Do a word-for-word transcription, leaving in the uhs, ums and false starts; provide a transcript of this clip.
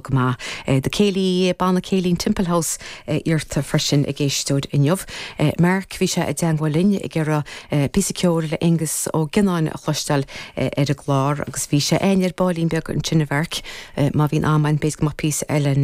coinneáil go maith. The Céilí Banna Céilí Temple House iarrta freisin ag éisteoir inniu. Mark bhí sé i dteagmháil linn ag iarraidh píosa ceoil le Aengus Ó Gionnáin a chloisteáil ar an gclár agus bhí sé ein ar baillín beag ansin a Mharc má bhíonn am b'fhéidir go mbeadh píosa eile